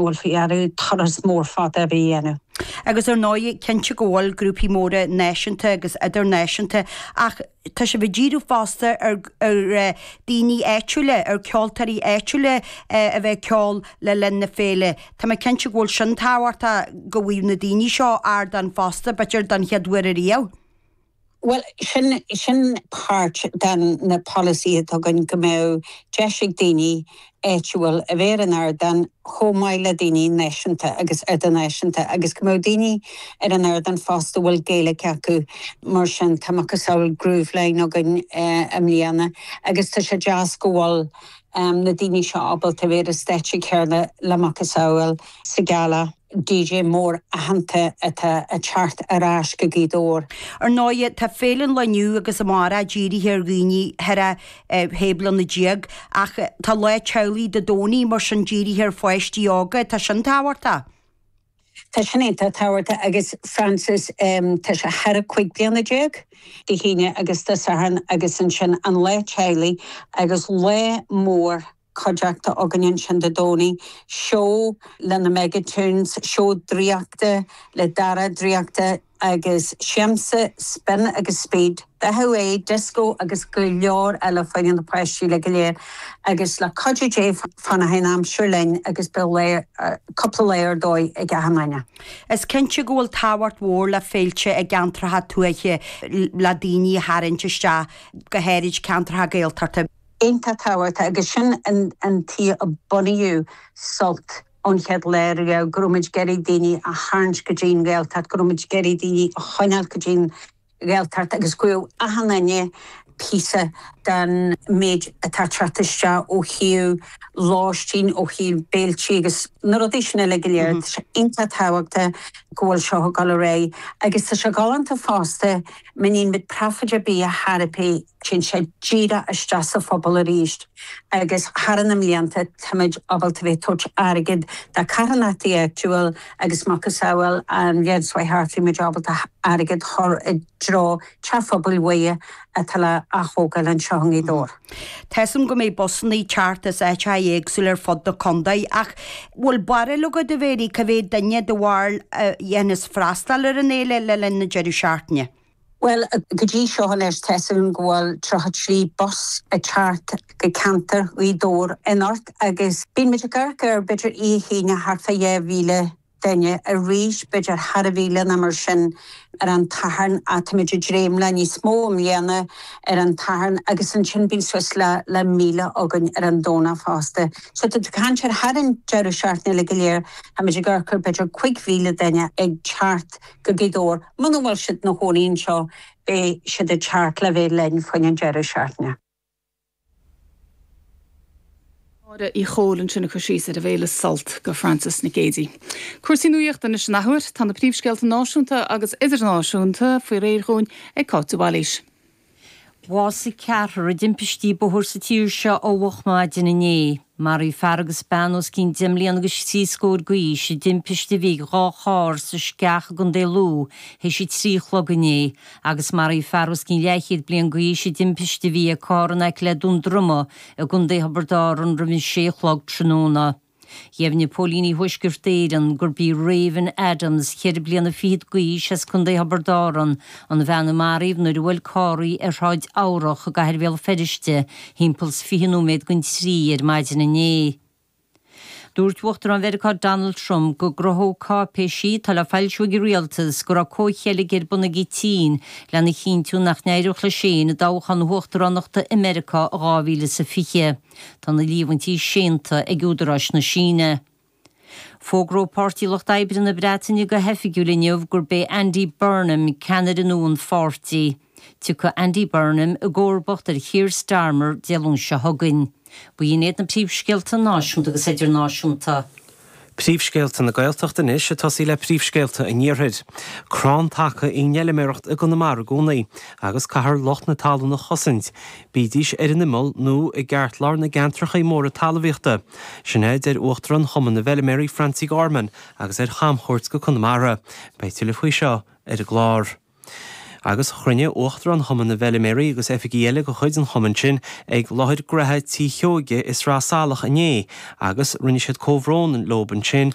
bhfuil faoi deara turas mór fada a bheith a dhéanamh. Agus ar ndóigh, cinnte go bhfuil grúpaí móra náisiúnta agus idirnáisiúnta ach tá sibh ag díriú fosta ar ar daoine áitiúla, ar ceoltóirí áitiúla a bheith ag ceol le linn na féile. Tá mé cinnte go bhfuil sin tábhachtach go bhfaigheadh na daoine seo ardán fosta, b'fhéidir don chéad uair ariamh. Bhuel, sin, sin páirt den na polasaithe atá againn, go mbeadh deis ag daoine áitiúil a bheith ar an ardán chomh maith le daoine náisiúnta agus idirnáisiúnta agus go mbeadh daoine ar an ardán fosta a bhfuil Gaeilge acu. Mar sin, tá macasamhail Grooveline againn i mbliana agus tá sé deas go bhfuil na daoine seo ábalta a bheith ar an stáitse céanna le macasamhail sa Ghealach. DJ mór aitheanta atá ag teacht ar ais go Gaoth Dobhair. Ar ndóigh, tá féile an lae inniu agus amárach dírithe ar dhaoine thar a 16 bliana ach tá lá teaghlaigh Dé Domhnaigh mar sin dírithe ar pháistí óga, tá sin tábhachtach. Tá sin iontach tábhachtach agus Frances, tá sé thar a 15 bliana Dé hAoine agus Dé Sathairn agus ansin an lá teaghlaigh agus lá mór cuideachta againn ansin Dé Domhnaigh, seó le na Megatones, seó draíochta le Dara Draíochta agus siamsa, spin agus speed, dathú aghaidhe, disco agus go leor eile fá choinne na páistí uilig go léir. Agus le cuidiú Dé fanfaidh an aimsir linn agus beidh lá, cúpla lá ar dóigh ag achan duine. Is cinnte go bhfuil tábhacht mhór le féilte i gceantracha tuaithe le daoine a tharraingt isteach, go háirid ceantracha Gaeltachta. iontach tábhachtach agus sin an tuige a bunaíodh Sult ón chéad lá riamh, go raibh muid ag iarraidh daoine a tharraingt go dtí an Ghaeltacht, go raibh muid ag iarraidh daoine a choinneáil go dtí an Ghaeltacht agus go bhfaigheadh achan duine píosa den méid atá ag teacht isteach ó thaobh lóistín, ó thaobh béiltí agus na rudaí sin uilig go léir. Tá sé iontach tábhachtach go bhfuil seo ag dul ar aghaidh agus tá sé galánta fosta, má níonn muid profit ar bith ar chor ar bith, Téann sé díreach isteach sa phobal arís agus thar na mblianta táimid ábalta bheith ag tabhairt airgead do carthanachtaí áitiúil agus macasamhail an bhliain seo thart bhí muid ábalta airgead chur i dtreo Teach Phobail Mhuire atá le ath-thógáil anseo i nGaoth Dobhair. Tá 'fhios a'm go mbeidh busanna ag teacht as áiteacha éagsúla ar fud na contae ach bhfuil barúil agat a Mhéirí cá mhéad duine do bharúil a dhéanfas freastal ar an fhéile le linn na deireadh seachtaine? Bhuel, go dtí seo anois, tá 'fhios agam go bhfuil 33 bus ag teacht go ceantar Ghaoth Dobhair anocht agus bíonn muid ag amharc ar b'fhéidir oíche Aoine thart fá 2,000 duine, arís b'fhéidir thar a mhíle nó mar sin ar an tSatharn ach táimid ag dréim le níos mó i mbliana ar an tSatharn agus ansin bíonn suas le le 1,000 againn ar an Domhnach fosta. So tá tú ag caint ar thar an deireadh seachtaine uilig go léir, táimid ag amharc ar b'fhéidir 5,000 duine ag teacht go Gaoth Dobhair. Muna bhfuil siad ina chónaí anseo, beidh siad ag teacht le bheith linn fá choinne an deireadh seachtaine. Máire Uí Chomhaill ansin ag cur síos ar an bhféile Sult go Frances Nic Géadaigh. Cúrsaí nuachta anois an athuair. Tá na príomhscéalta náisiúnta agus idirnáisiúnta faoi réir dhúinn ag Cáit de Bhailís. Bhásaigh ceathrar i dtimpistí bóthair sa tír seo ó mhoch maidin inné. Maraíodh fear agus bean os cionn deich mbliana agus thrí scór d'aois i dtimpiste a bhí ag dhá charr sa Sceach i gContae Lú théis a trí a chlog inné agus maraíodh fear os cionn leathchéad bliain d'aois i dtimpiste a bhí ag carr in aice le Dún Droma i gContae Thiobraid Árann roimh an sé a chlog tráthnóna. Dheimhnigh póilíní Thuaisceart Éireann gurb í Raven Adams, cheithre bliana fichead d'aois as Contae Thiobraid Árann, an bhean a maraíodh nuair a bhuail carr í ar Shráid Eabhrach i gcathair Bhéal Feirste thimpeall 's 20 nóiméad don trí ar maidin inné. Dúirt Uachtarán Mheiriceá Donald Trump go gcruthódh cáipéisí atá le foilsiú ag an rialtas go raibh comhcheilg ar bun ag an tSín lena chinntiú nach n-éireodh leis féin i dtoghchán na huachtaránachta i Meiriceá i 2020. Tá na líomhaintí séanta ag údaráis na Síne. Fógróidh Páirtí Lucht Oibre na Breataine go hoifigiúil inniu gurb é Andy Burnham ceannaire nua an pháirtí. Tiocfaidh Andy Burnham i gcomharbacht ar Keir Starmer Dé Luain seo chugainn. B'in iad na príomhscéalta náisiúnta agus idirnáisiúnta. Príomhscéalta na Gaeltachta anois, ag tosaí le príomhscéalta an Iarthair. Crann taca í an fheilméaracht i gConamara i gcónaí, agus caithfear lucht na talún a chosaint, bídís ar an imeall nó i gceartlár na gceantracha móra talmhaíochta. Sin é a deir Uachtarán Chumann na bhFeilméaraí Francie Gorman agus é ar chamchuairt go Conamara. Beidh tuilleadh faoi seo ar an gclár. Agus chruinnigh Uachtarán Chumann na bhFeiliméaraí agus oifigigh eile de chuid an chumainn sin ag láthair graithe Tí Sheoige i Sraith Salach inné agus rinne siad comhbhrón leob ansin.